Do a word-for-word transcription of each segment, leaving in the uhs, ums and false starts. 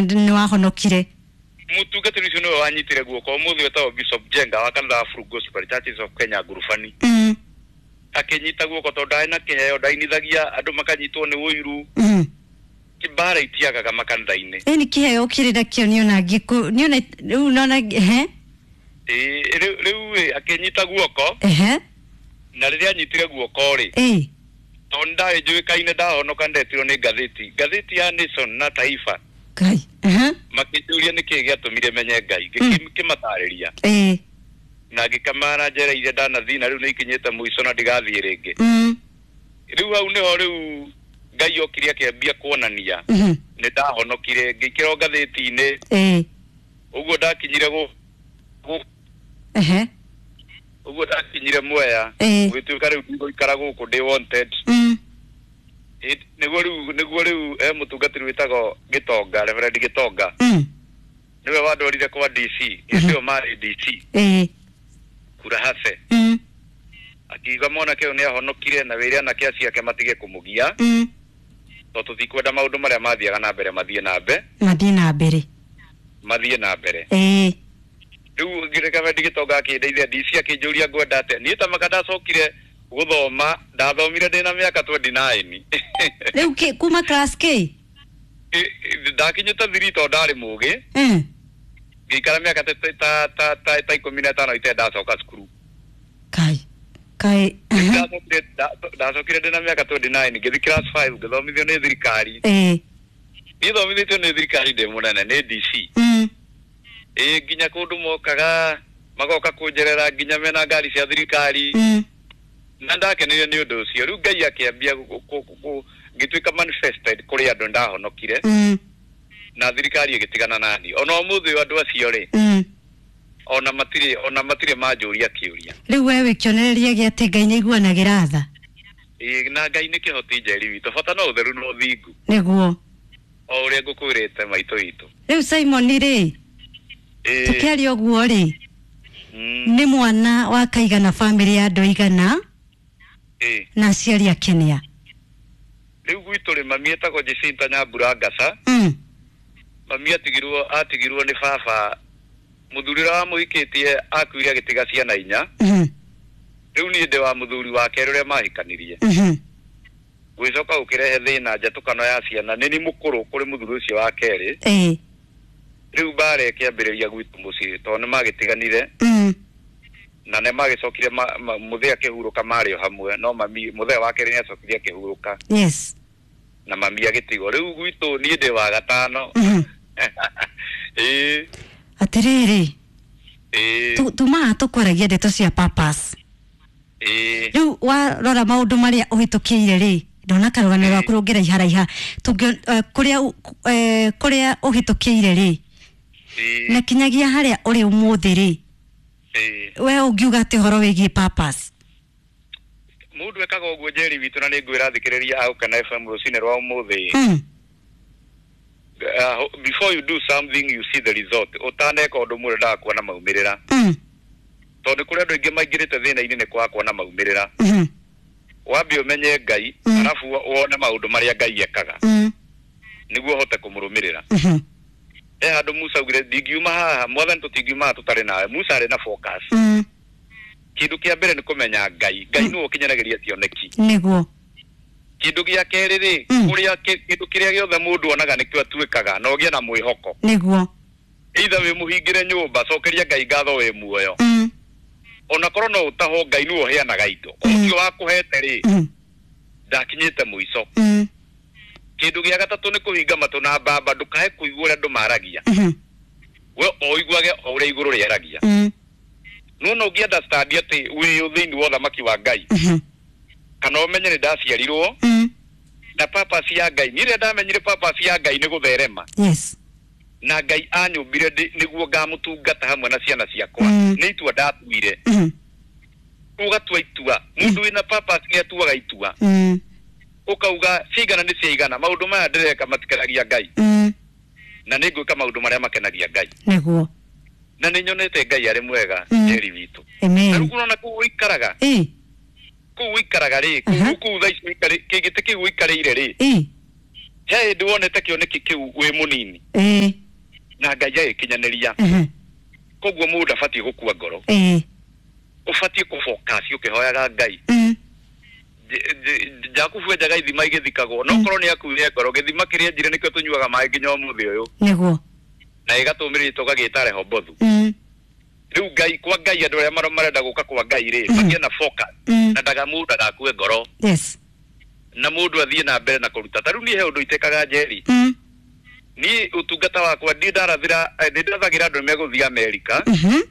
nĩ wahonokire. Mũtungatĩri ũcio nĩwe wanyitire guoko, ũmũthĩ wetagwo Bishop Jenga wa kanitha wa Full Gospel Churches of Kenya Ngurubani. Mm. Akĩnyita guoko tondũ ndarĩ na kĩheo, ndainithagia andũ makanyitwo nĩ ũiru. Mm. Mbara itiagaga makanitha-inĩ. Ĩ nĩ kĩheo kĩrĩ nakĩo niona ngĩkũ niona rĩu nona ehe. Ĩ rĩu rĩu ĩ, akĩnyita guoko. Ehe. Na rĩrĩa anyitire guoko rĩ, ĩ tondũ ndarĩ njũĩkaine, ndahonoka ndetirwo nĩ ngathĩti ngathĩti ya Nation na Taifa. Ngai. Ehe. Makĩnjũria nĩkĩĩ gĩatũmire menye Ngai, ngĩkĩmatarĩria ĩ na ngĩkamara njera iria ndanathiĩ na rĩu nĩ ikinyĩte mũico na ndigathiĩ rĩngĩ. Mm. Rĩu hau nĩho rĩu Ngai okire akĩambia kuonania Mhm. nĩ ndahonokire, ngĩikĩrwo ngathĩti-inĩ. Ĩ Ũguo ndakinyire gũ gũ- ehe. Ũguo ndakinyire Mwea, Ĩ. gũgĩtuĩka rĩu ndigũikara gũkũ ndĩ wanted. Mm. Ĩ, nĩguo rĩu nĩguo rĩu he mũtungatĩri wĩtagwo Gĩtonga, Reverend Gĩtonga, Mm. nĩwe wandwarire kwa D C, hĩndĩ ĩyo marĩ D C Ĩ Kurahase. Mm. Akiuga mwanake ũyũ nĩ ahonokire na wĩre anake acio ake matige kũmũgia, Mm. tondũ tũtikwenda maũndũ marĩa mathiaga na mbere mathiĩ na mbere. Mathiĩ na mbere. Mathiĩ na mbere. Ĩ Rĩu Reverend Gĩtonga akĩndeithia D C, akĩnjũria ngwenda atĩa. Niĩ ta maka ndacokire gũthoma, ndathomire ndĩna mĩaka twenty nine. Rĩu kĩ kuma class K? Ndakinyĩte three tondũ ndarĩ mũgĩ. Mm. Ngĩikara mĩaka ta ta ta ta ta ikũmi na ĩtano itarĩ ndacoka cukuru. Kai. Kai. Ndacokire ndacokire ndĩna mĩaka twenty nine, ngĩthiĩ class five, ngĩthomithio nĩ thirikari. Ĩ Niĩ thomithĩtio nĩ thirikari ndĩ mũnene nĩ D C. Mm. Ĩ nginya kũndũ mokaga magoka kũnjerera nginya mena ngari cia thirikari. Mm. Na ndakenire nĩ ũndũ ũcio. Rĩu Ngai akĩambia ngĩtuĩka manifested kũrĩ andũ ndahonokire. Mm. Na thirikari ĩgĩtigana nani. Ona ũmũthĩ ũyũ andũ acio rĩ, Mm. ona matirĩ ona matirĩ manjũria kĩũria. Rĩu we wĩ kĩonereria gĩa atĩ Ngai nĩaiguanagĩra tha. Ĩ, na Ngai nĩ kĩhoti njeri witũ, bata no ũtheru na ũthingu. Nĩguo. O ũrĩa ngũkwĩrĩte maitũ witũ. Rĩu Simon rĩ, Ĩ. tũkĩaria ũguo rĩ, Mm. nĩ mwana wa kaigana bamĩrĩ ya andũ aigana Ĩ. na aciari akenia? Rĩu gwitũ rĩ, mami etagwo Jacinta Nyambura Ngasa. Mm. Mami atigirwo atigirwo nĩ baba, mũthuri ũrĩa wamũhikĩtie akuire agĩtiga ciana inya. Mhm. Rĩu niĩ ndĩ wa mũthuri wa kerĩ ũrĩa mahikanirie. Mhm. Gwĩcoka gũkĩrehe thĩna njatũkano ya ciana, nĩ ni mũkũrũ kũrĩ mũthuri ũcio wa kerĩ. Ĩ. Rĩu mbara ĩkĩambĩrĩria gwitũ mũciĩ tondũ nĩ magĩtiganire. Mm. Na nĩ magĩcokire mũthee akĩhurũka marĩ o hamwe, no mami mũthee wa kerĩ nĩ acokire akĩhurũka. Yes. Na mami agĩtigwo. Rĩu gwitũ niĩ ndĩ wa gatano. Mhm. Ĩ. Atĩrĩrĩ. Ĩ. Tumaga tũkwaragia ndeto cia purpose. Ĩ. Rĩu warora maũndũ marĩa ũhĩtũkĩire rĩ, ndona karũgano gaku rũngĩraiharaiha, kũrĩa kũrĩa ũhĩtũkĩire rĩ, na kinyagia harĩa ũrĩ ũmũthĩ rĩ, we ũngiuga atĩ ũhoro wĩgiĩ purpose? Mũndũ ekaga ũguo Njeri witũ, na nĩ ngwĩra thikĩrĩria a Gũkena F M rũcinĩ rwa ũmũthĩ. Mm. Uh, before you do something you see the result. Ũtaneka ũndũ mũndũ endaga kuona maumĩrĩra. Mm. Tondũ kũrĩ andũ aingĩ maingĩrĩte thĩna-inĩ nĩ kwaga kuona maumĩrĩra. Mm. Wambe ũmenye Ngai, Mm. arabu wone maũndũ marĩa Ngai ekaga. Mm. Nĩguo ũhote kũmũrũmĩrĩra. Mhm. He handũ Musa augire ndingiuma haha, mwathani tũtingiuma haha tũtarĩ nawe. Musa arĩ na focus. Mm. Kĩndũ kĩa mbere nĩ kũmenya Ngai. Ngai nĩwe ũkinyanagĩria cioneki. Nĩguo. Kĩndũ gĩa kerĩ rĩ, Mm. kũrĩa kĩndũ kĩrĩa gĩothe mũndũ onaga nĩkĩo atuĩkaga, na ũgĩe na mwĩhoko. Nĩguo. Either wĩ mũhingĩre nyũmba, cokeria Ngai ngatho wĩ muoyo. Mm. Ona korwo no ũtahwo, Ngai nĩwe ũheanaga indo. Mm. Ũcio wakũhete rĩ, Mm. ndakinyĩte mũico. Mm. Kĩndũ gĩa gatatũ nĩ kũhinga matũ na mbamba, ndũkae kũigua ũrĩa andũ maragia. Mhm. We o ũiguage o ũrĩa igũrũ rĩaragia. Mm. Nĩwona ũngĩ understand atĩ wĩ thĩinĩ wa ũthamaki wa Ngai. Mhm. Kana ũmenye nĩ ndaciarirwo Mm. na purpose ya Ngai. Niĩ rĩrĩa ndamenyire purpose ya Ngai nĩ gũtherema. Yes. Na Ngai anyũmbire nĩguo ngamũtungata hamwe na ciana ciakwa. Mm. Nĩ itua ndatuire. Mhm. Ũgatua itua. Mũndũ wĩna purpose nĩ atuaga itua. Mm. Ũkauga cigana nĩ ciaigana, maũndũ maya ndĩreka matikenagia Ngai. Mm. Na nĩ ngwĩka maũndũ marĩa makenagia Ngai. Nĩguo. Na nĩ nyonete Ngai arĩ mwega, Mm. Njeri witũ. Amen. Na rĩu ũrona kũu ũikaraga. Ĩ. Kũu ũikaraga rĩ, Aha. kũu kũu thaa ici ũikarĩ, kĩgĩtĩ kĩu ũikarĩire rĩ. Ĩ. He hĩndĩ wonete kĩoneki kĩu wĩ mũnini Ĩĩ. na Ngai agĩkinyanĩria. Mhm. Koguo mũndũ abatiĩ gũkua ngoro. Ĩĩ. Ũbatiĩ kũfocus ũkĩhoyaga Ngai. Mm. Jakubu enjaga ithima igĩthikagwo no korwo nĩ akuire ngoro gĩthima kĩrĩa enjire nĩkĩo tũnyuaga maĩ nginya ũmũthĩ ũyũ. Nĩguo. Na ĩgatũmĩrĩria tũgagĩta Rehobothu. Mm. Rĩu Ngai kwa Ngai andũ arĩa maro- marenda gũka kwa Ngai rĩ Mm. magĩe na focus Mm. na ndaga mũndũ ndagakue ngoro Yes. na mũndũ athiĩ na mbere na kũruta. Ta rĩu niĩ he ũndũ itekaga Njeri. Mm. Niĩ ũtungata wakwa ndiĩ ndarathĩra eh, nĩ ndathagĩra andũ megũthiĩ Amerika Mhm.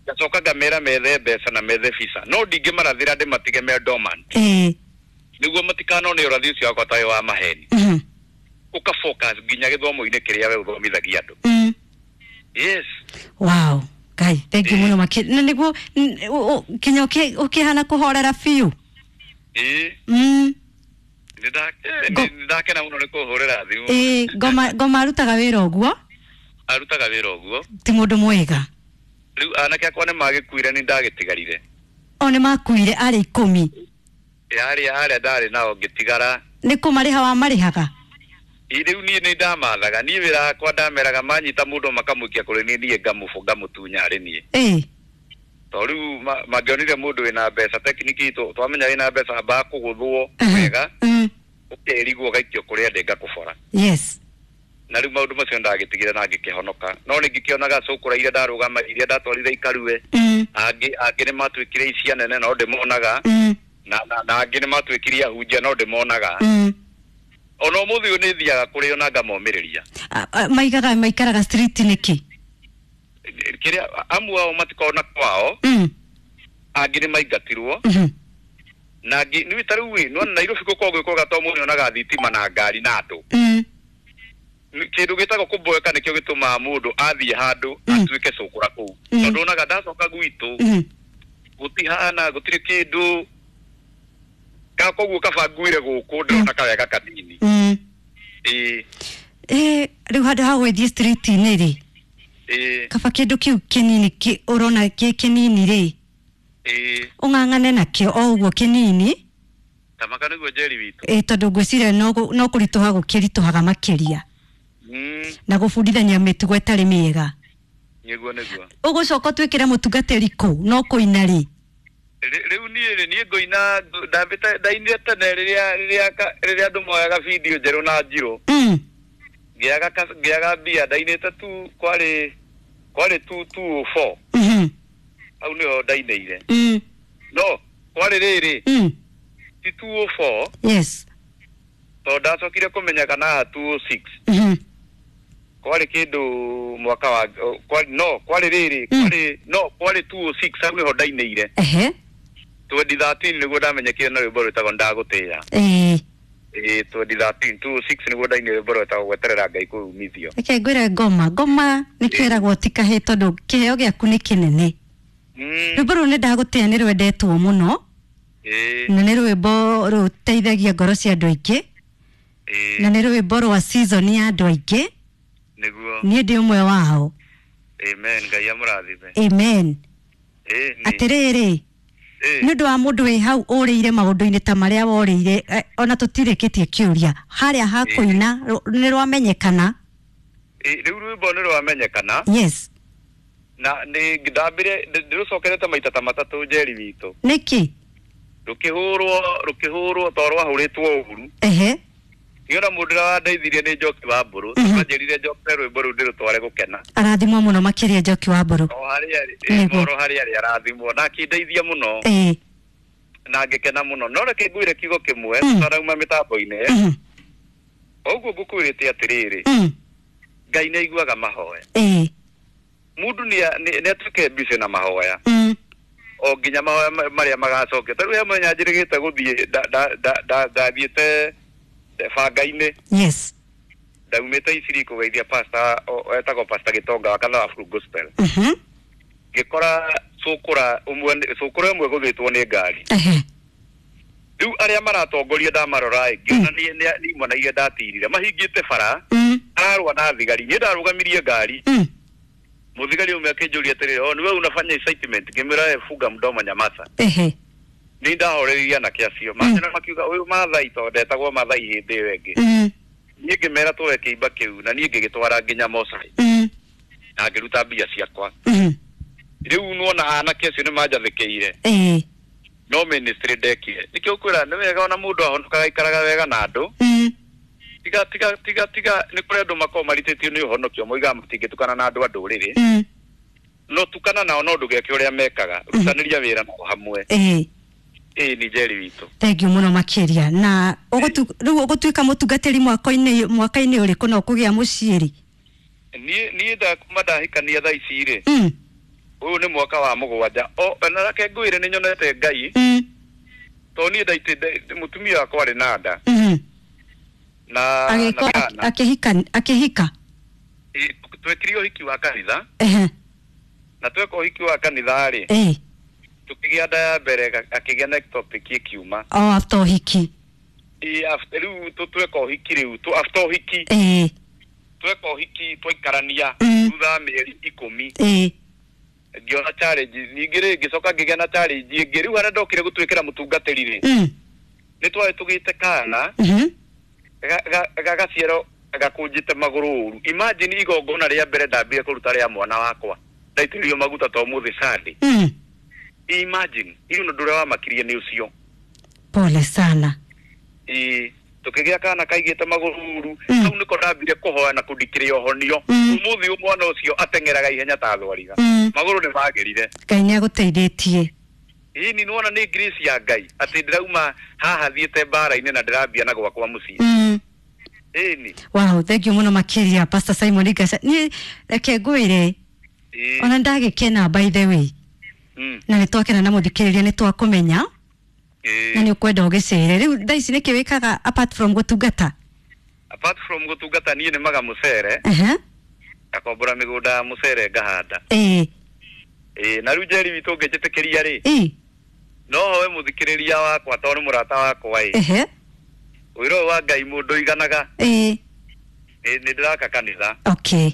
ngacoka ngamera methe mbeca na methe visa no ndingĩmarathĩra ndĩmatige me dormant Ĩĩ. nĩguo matikanone ũrathi ũcio wakwa ta wĩ wa maheni. Mhm. Ũka focus nginya gĩthomo-inĩ kĩrĩa we ũthomithagia andũ. Mm. Yes. Wow. Ngai, thank you Ĩĩ. mũno makĩria. Na nĩguo n- ũ- ũ- kinya ũkĩ- ũkĩhana kũhorera biũ. Ĩĩ. Mm. Nĩ nda- eh, Ngo- nĩ ndakena mũno nĩ kũhũrĩra thimũ. Ĩĩ, ngoma ngoma arutaga wĩra ũguo Arutaga wĩra ũguo. ti mũndũ mwega. Rĩu anake akwa nĩ magĩkuire nĩ ndagĩtigarire. O nĩ makuire arĩ ikũmi. Yarĩ arĩa ndarĩ nao ngĩtigara. Nĩ kũmarĩha wamarĩhaga? Ĩ, rĩu niĩ nĩ ndamathaga niĩ wĩra wakwa ndameraga manyita mũndũ makamũikia kũrĩ niĩ niĩ ngamũbũ ngamũtunya arĩ niĩ. Ĩĩ. To rĩu ma- mangĩonire mũndũ wĩna mbeca tekiniki itũ twamenya wĩna mbeca ambaga kũgũthwo Mhm. wega Mm. ũkerigwo ũgaikio kũrĩa ndĩ ngakũbora. Yes. Na rĩu maũndũ macio ndagĩtigire na ngĩkĩhonoka no nĩ ngĩkĩonaga cũkũra iria ndarũgama iria ndatwarire ikarue Mm. angĩ angĩ nĩ matuĩkire icia nene no ndĩmonaga Mm. na na na angĩ nĩ matuĩkire ahunjia no ndĩmonaga. Mm. Ona ũmũthĩ ũyũ nĩ thiaga kũrĩ o na ngamomĩrĩria. A- a- Maigaga maikaraga street nĩkĩ? Kĩrĩa amwe ao matikoragwo na kwao Mm. angĩ nĩ maingatirwo Mhm. na angĩ nĩ ta rĩu ĩ nĩwona Nairobi gũkoragwo gwĩ kwega tondũ mũndũ nĩonaga thitima na ngari na andũ. Mm. Nĩ- kĩndũ gĩtagwo kũboeka nĩkĩo gĩtũmaga mũndũ athiĩ handũ Mm. atuĩke cũkũra kũu. Mm. Tondũ onaga ndacoka gwitũ Mhm. gũtihana gũtirĩ kĩndũ ka koguo kaba nguire gũkũ ndĩrona kawega kanini. Mm. Ĩĩ. Ĩĩ, rĩu handũ ha gwĩthiĩ street-inĩ rĩ Ĩĩ. kaba kĩndũ kĩu kĩnini kĩ ũrona kĩ kĩnini rĩ Ĩĩ. ũng'ang'ane nakĩo o ũguo kĩnini. Tamaka nĩguo Njeri witũ. Ĩĩ, tondũ ngwĩciria no gũ- no kũritũha gũkĩritũhaga makĩria Mm. na gũbundithania mĩtugo ĩtarĩ mĩega. Nĩguo nĩguo. Ũgũcoka ũtuĩkĩre mũtungatĩri kũ no kũina rĩ? Rĩ- Rĩu niĩ rĩ niĩ ngũina ndambĩte ndainire tene rĩrĩa rĩrĩa ka- rĩrĩa andũ moyaga video njerũ na njirũ Mm. ngĩaga ka- ngĩaga mbia ndainĩte tu kwarĩ kwarĩ two two oh four Mhm. hau nĩho ndainĩire. Mm. No kwarĩ rĩrĩ Mm. ti two oh four Yes. tondũ ndacokire kũmenya kana haha two oh six Mhm. kwarĩ kĩndũ mwaka wa kwarĩ no kwarĩ rĩrĩ Mm. kwarĩ no kwarĩ two oh six hau nĩho ndainĩire. Ehe. twenty thirteen nĩguo ndamenyekire na rwĩmbo rwĩtagwo Ndagũtĩĩa. Ĩĩ. Ĩĩ twenty thirteen two oh six nĩguo ndainire rwĩmbo rwĩtagwo Gweterera Ngai Kũumithio. Reke ngwĩre ngoma ngoma nĩ kĩragwo ti kahĩĩ tondũ kĩheo gĩaku nĩ kĩnene. Mm. Rwĩmbo rũu nĩ ndagũtĩĩa nĩ rwendetwo mũno Ĩĩ. na nĩ rwĩmbo rũteithagia ngoro cia andũ aingĩ Ĩĩ. na nĩ rwĩmbo rwa season ya andũ aingĩ. Nĩguo. Niĩ ndĩ ũmwe wao. Amen Ngai amũrathime. Amen. Ĩĩ nĩ. Atĩrĩrĩ Ĩĩ. nĩ ũndũ wa mũndũ wĩ hau ũrĩire maũndũ-inĩ ta marĩa worĩire eh, ona tũtirĩkĩtie kĩũria harĩa ha kũina rũ- nĩ rwamenyekana. Ĩĩ, rĩu rwĩmbo nĩ rwamenyekana Yes. na nĩ ndambire ndĩrũcokerete maita ta matatũ Njeri witũ. Nĩkĩ? Rũkĩhũrwo rũkĩhũrwo tondũ rwahũrĩtwo ũru. Ehe. Niĩ ona mũndũ ũrĩa wandeithirie nĩ Njoki wa Mbũrũ Mhm. anjĩrire njokere rwĩmbo rũu ndĩrũtware gũkena. Arathimwo mũno makĩria Njoki wa Mbũrũ. O harĩa arĩ ĩĩ, Nĩguo. oro harĩa arĩ arathimwo na akĩndeithia mũno Ĩĩ. na ngĩkena mũno no reke ngwĩre kiugo kĩmwe Mm. tũtanauma mĩtambo-inĩ. Mhm. Ũguo ngũkwĩrĩte atĩrĩrĩ Mm. Ngai nĩ aiguaga mahoya. Ĩĩ. Mũndũ nĩ nĩ atuĩke busy na mahoya Mm. o nginya mahoya ma- marĩa magacokia. Ta rĩu he mũthenya njĩrĩgĩte gũthiĩ nda- nda- nda- nda- ndathiĩte banga-inĩ Yes. ndaumĩte Isiri kũgeithia pastor o- etagwo pastor Gĩtonga wa kanitha wa Full Gospel. Mhm. Ngĩkora cũkũra ũmwe cũkũra ĩmwe gũthĩtwo nĩ ngari. Ehe. Rĩu arĩa maratongoria ndamarora ĩ ngĩona nĩ nĩ imwana iria ndatirire mahingĩte bara Mm. ararũa na thigari. Niĩ ndarũgamirie ngari Mm. mũthigari ũmwe akĩnjũria atĩrĩrĩ o nĩwe unafanya incitement ngĩmwĩra "We funga mdomo nyamaza." Ehe. Nĩ ndahoreririe anake acio manjĩra makiuga ũyũ Mathai tondũ ndetagwo Mathai hĩndĩ ĩyo ĩngĩ. Mm. Niĩ ngĩmera tuoe kĩimba kĩu na niĩ ngĩgĩtwara nginya Mosai Mm. na ngĩruta mbia ciakwa. Mhm. Rĩu nĩwona anake acio nĩ manjathĩkĩire Ĩĩ. no ministry ndekire. Nĩkĩo ngwĩra nĩ wega ona mũndũ ahonokaga aikaraga wega na andũ. Mm. Tiga tiga tiga tiga nĩ kũrĩ andũ makoragwo maritĩtio nĩ ũhonokio moigaga matingĩtukana na andũ a ndũrĩrĩ. Mm. No tukana nao no ndũgeke ũrĩa mekaga, rutanĩria wĩra nao hamwe. Ĩĩ. Ĩĩ nĩ Njeri witũ. Thank you mũno makĩria. Na ũgũtu- rĩu ũgũtuĩka mũtungatĩri mwaka-inĩ mwaka-inĩ ũrĩkũ na ũkũgĩa mũciĩ rĩ? Niĩ niĩ ndakuma ndahikania thaa ici rĩ, Mm. ũyũ nĩ mwaka wa mũgwanja. O na reke ngwĩre nĩ nyonete Ngai Mm. tondũ niĩ ndaitĩ mũtumia wakwa arĩ na nda Mhm. na na Agĩko kana. akĩhika akĩhika. Ĩ, twekire ũhiki wa kanitha Ehe. na tweka ũhiki wa kanitha rĩ Ĩĩ. tukĩgĩa nda ya mbere ga- akĩgĩa na ectopic ĩkiuma. O after ũhiki. Ĩ, after rĩu tũ- tweka ũhiki rĩu tũ- after ũhiki Ĩĩ. tweka ũhiki twaikarania Mm. thutha wa mĩeri ikũmi Ĩĩ. ngĩona challenge ningĩ rĩ ngĩcoka ngĩgĩa na challenge ĩngĩ rĩu harĩa ndokire gũtuĩkĩra mũtungatĩri rĩ Mm. nĩ twarĩ tũgĩte kana Mhm. ga- ga- gagaciarwo gakũnjĩte magũrũ ũru. Imagine igongona rĩa mbere ndambire kũruta rĩa mwana wakwa ndaitĩrĩrio maguta ta ũmũthĩ Sunday. Mm. Imagine hiyo ũndũ ũrĩa wamakirie nĩ ũcio. Pole sana. Ĩ, tukĩgĩa kana kaigĩte magũrũ ũru Mm. hau nĩko ndambire kũhoya na kũndikĩria ũhonio. Mm. Ũmũthĩ ũyũ mwana ũcio ateng'eraga ihenya ta thwariga. Mm. Magũrũ nĩ magĩrire. Ngai nĩ agũteithĩtie. Ĩni nĩwona nĩ grace ya Ngai atĩ ndĩrauma haha thiĩte mbara-inĩ na ndĩrambia na gwakwa mũciĩ. Mm. Ĩni. Wow, thank you mũno makĩria Pastor Simon Gaca. Niĩ reke ngwĩre Ĩ. ona ndagĩkena by the way. Mm. Na nĩ twakena na mũthikĩrĩria nĩ twakũmenya Ĩ. na nĩ ũkwenda ũgĩcere. Rĩu thaa ici nĩkĩ wĩkaga apart from gũtungata? Apart from gũtungata niĩ nĩmaga mũcere Ehe. ngakombora mĩgũnda ya mũcere ngahanda. Ĩĩ. Ĩ, na rĩu Njeri witũ ũngĩnjĩtĩkĩria rĩ Ĩĩ. no hoe mũthikĩrĩria wakwa tondũ nĩ mũrata wakwa ĩ. Ehe. Ũira ũyũ wa Ngai mũndũ ũiganaga Ĩĩ. nĩ nĩ ndĩraka kanitha Okay.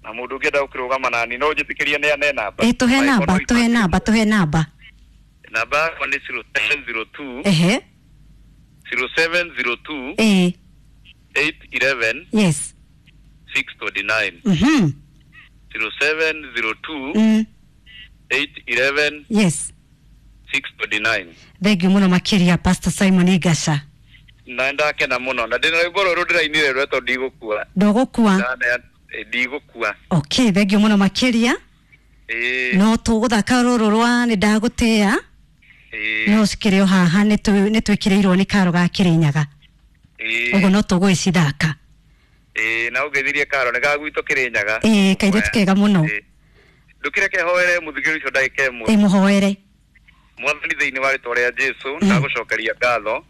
na mũndũ ũngĩenda gũkĩrũgama nani no ũnjĩtĩkĩrie neane namba. Ĩĩ, tũhe namba, tũhe namba, tũhe namba. Namba yakwa nĩ zero seven zero two Ehe. zero seven zero two Ĩĩ. eight eleven Yes. six twenty nine Mhm. zero seven zero two Mm. eight eleven Yes. six twenty nine. Thank you mũno makĩria Pastor Simon Gaca. Na ndakena mũno na ndĩna rwĩmbo rũrũ ndĩrainire rwetwo ndigũkua. Ndũgũkua. Ndane- eh, ndigũkua. Okay, thank you mũno makĩria. Ĩĩ. No tũgũthaka rũrũ rwa nĩ ndagũtĩa. Ĩĩ. No cikĩrĩ o haha nĩ twĩ- nĩ twĩkĩrĩirwo nĩ karo ga Kĩrĩnyaga. Ĩĩ. Ũguo no tũgũgĩcithaka. Ĩĩ, na ũngeithirie karo nĩ ga gwitũ Kĩrĩnyaga. Ĩĩ, kairĩtu kega mũno. Ĩĩ. Ndũkĩreke hoere mũthikĩrĩria ũcio ndagĩka ĩmwe. Ĩĩ, mũhoere. Mwathani thĩinĩ wa rĩtwa rĩa Jesũ Mm. ndagũcokeria ngatho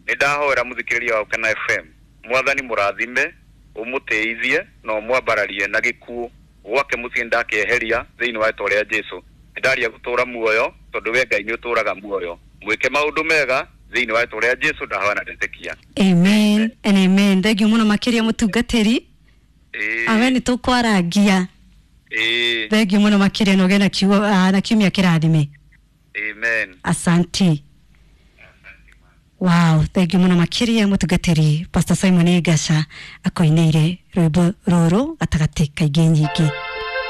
nĩ ndahoera mũthikĩrĩria wa Ũkena F M Mwathani mũrathime ũmũtĩithie na ũmwambararie na gĩkuũ gwake mũciĩ ndakĩeheria thĩinĩ wa rĩtwa rĩa Jesũ. Nĩ ndaria gũtũra muoyo tondũ we Ngai nĩ ũtũraga muoyo mwĩke maũndũ mega thĩinĩ wa rĩtwa rĩa Jesũ ndahoya na ndetĩkia. Amen and amen. Thank you mũno makĩria mũtungatĩri. Ĩĩ. Awe nĩ tũkwarangia. Ĩĩ. Thank you mũno makĩria na ũgĩe na kiugo ah, na kiumia kĩrathime. Amen. Asante. Wow, thank you mũno makĩria mũtungatĩri Pastor Simon Gaca akoinĩire rwĩmbo rũrũ gatagatĩ ka ingĩ nyingĩ.